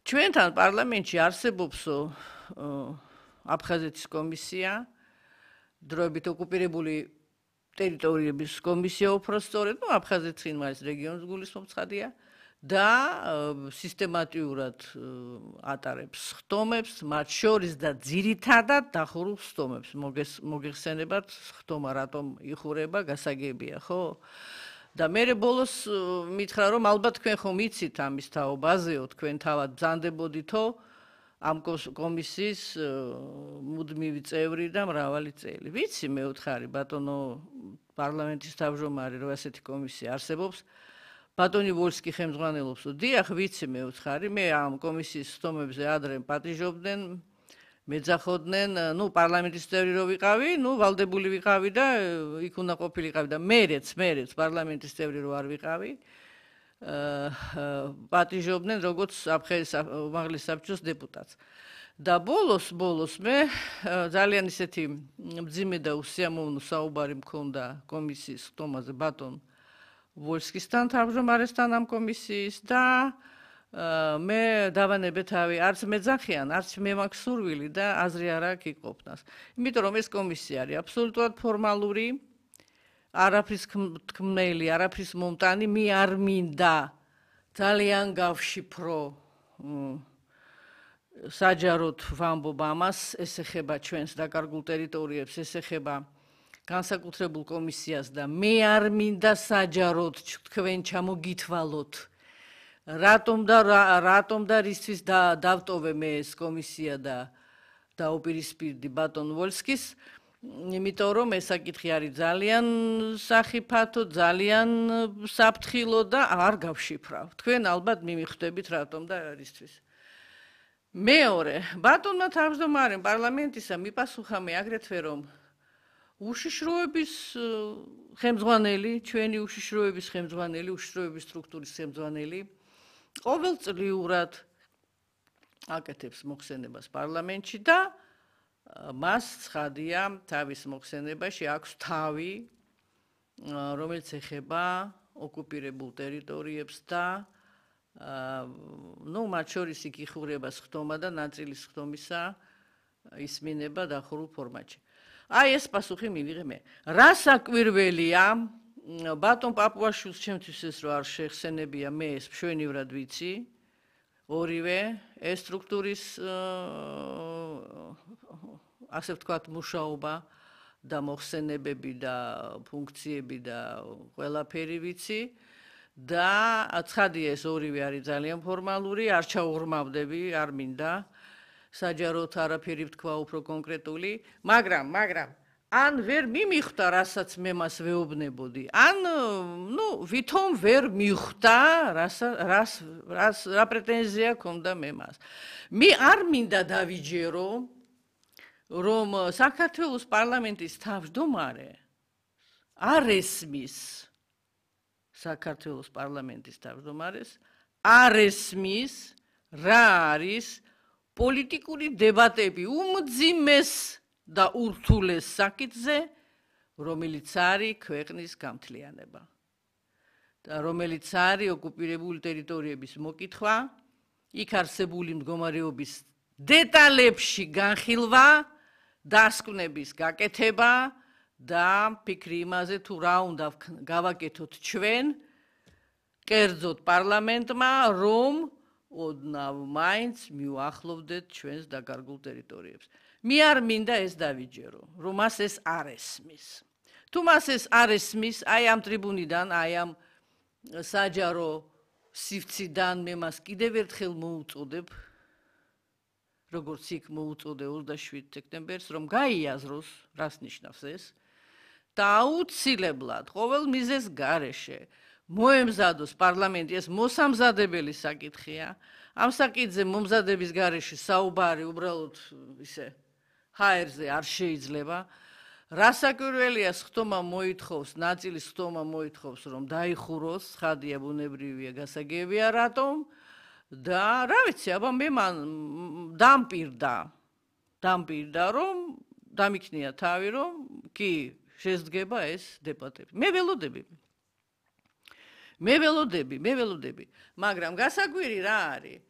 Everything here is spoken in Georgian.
ჩვენთან პარლამენტში არსებობსო აფხაზეთის კომისია, დროებით ოკუპირებული ტერიტორიების კომისია უფრო სწორედ, აფხაზეთის იმას რეგიონის გულისხმობ-ცხადია და სისტემატიურად ატარებს ხტომებს, მათ შორის და ძირითადად დახურულ ხტომებს. მოგეხსენებათ, ხტომა რატომ იხურება, გასაგებია, ხო? და მე ბოლოს მითხრა, რომ ალბათ თქვენ ხომ იცით ამის თაობაზეო, თქვენ თავად ბრძანდებოდითო ამ კომისიის მუდმივი წევრი და მრავალი წელი. ვიცი, მე ვთხარი, ბატონო პარლამენტის თავმჯდომარე, რომ ასეთი კომისია არსებობს. ბატონი ვოლსკი ხელმძღვანელობს. დიახ, ვიცი, მე ვთხარი, მე ამ კომისიის ხტომებზე ადრე პატიჟობდნენ, მეძახოდნენ, პარლამენტის წევრი რო ვიყავი, ვალდებული ვიყავი და იქ უნდა ყოფილიყავი და მეც პარლამენტის წევრი რო არ ვიყავი. პატიჟობდნენ როგორც უმაღლეს საბჭოს დეპუტატს. და ბოლოს მე ძალიან ისეთი მძიმე და უსიამოვნო საუბარი მქონდა კომისიის ხტომაზე ბატონ ვოლსკისთან თავმჯდომარესთან ამ კომისიის და მე დავანებე თავი, არც მეძახიან, არც მე მაქვს სურვილი და აზრი არ აქვს იყოფნას. იმიტომ რომ ეს კომისია არის აბსოლუტურად ფორმალური, არაფრის თქმელი, არაფრის მომტანი, მე არ მინდა ძალიან გავშიფრო საჯაროდ ვამბობ ამას, ეს ეხება ჩვენს დაკარგულ ტერიტორიებს, ეს ეხება განსაკუთრებულ კომისიას და მე არ მინდა საჯაროდ თქვენ ჩამოგითვალოთ რატომ და რისთვის დავტოვე მე ეს კომისია და დაუპირისპირდი ბატონ ვოლსკის, იმიტომ რომ ეს საკითხი არის ძალიან სახიფათო, ძალიან საფრთხილო და არ გავშიფრავ. თქვენ ალბათ მიმიხვდებით რატომ და რისთვის. მეორე, ბატონმა თავმჯდომარემ პარლამენტისა მიპასუხა მე აგრეთვე რომ უშიშროების ხელმძღვანელი, ჩვენი უშიშროების ხელმძღვანელი, უშიშროების სტრუქტურის ხელმძღვანელი ყოველწლიურად აკეთებს მოხსენებას პარლამენტში და მას ცხადია თავის მოხსენებაში აქვს თავი, რომელიც ეხება ოკუპირებულ ტერიტორიებს და მათ შორის იქ იხურება ხტომა და ნაწილის ხტომისა ისმინება დახურულ ფორმატში. აი ეს პასუხი მივიღე მე. რა საკვირველია, ბატონ პაპუაშვილს ჩემთვის ეს რო არ შეხსენებია, მე ეს მშვენივრად ვიცი, ორივე ეს სტრუქტურის ასე ვთქვათ მუშაობა და მოხსენებები და ფუნქციები და ყველაფერი ვიცი და ცხადია ეს ორივე არის ძალიან ფორმალური, არ ჩაუღრმავდები, არ მინდა საჯაროდ არაფერი ვთქვა უფრო კონკრეტული, მაგრამ ან ვერ მიმიხვდა, რასაც მე მას ვეუბნებოდი, ან ვითომ ვერ მიხვდა, რა პრეტენზია ქონდა მე მას. მე არ მინდა დავიჯერო, რომ საქართველოს პარლამენტის თავმჯდომარე არ ესმის საქართველოს პარლამენტის თავმჯდომარეს, არ ესმის რა არის პოლიტიკური დებატები უმძიმეს და ურთულეს საკითხზე, რომელიც არის ქვეყნის გამთლიანება და რომელიც არის ოკუპირებული ტერიტორიების მოკითხვა, იქ არსებული მდგომარეობის დეტალებში განხილვა, დასკვნების გაკეთება და ფიქრი იმაზე თუ რა უნდა გავაკეთოთ ჩვენ, კერძოდ პარლამენტმა, რომ ოდნავ მაინც მივახლოვდეთ ჩვენს დაკარგულ ტერიტორიებს. მე არ მინდა ეს დავიჯერო, რომ მას ეს არ ესმის. თუ მას ეს არ ესმის, აი ამ ტრიბუნიდან, აი ამ საჯარო სივრციდან მე მას კიდევ ერთხელ მოუწოდებ, როგორც იქ მოუწოდე 27 სექტემბერს, რომ გაიაზროს, რას ნიშნავს ეს, და აუცილებლად ყოველ მიზეზს გარეშე მოემზადოს პარლამენტი, ეს მოსამზადებელი საკითხია. ამ საკითხზე მომზადების გარეშე საუბარი უბრალოდ ისე ჰაერზე არ შეიძლება. რა საკვირველია ხტომა მოითხოვს, ნაწილის ხტომა მოითხოვს, რომ დაიხუროს, ცხადია ბუნებრივია, გასაგებია რატომ და რა ვიცი, აბა მე მან დამპირდა, რომ დამიქნია თავი, რომ კი შესდგება ეს დებატები. მე ველოდები, მაგრამ გასაკვირი რა არის?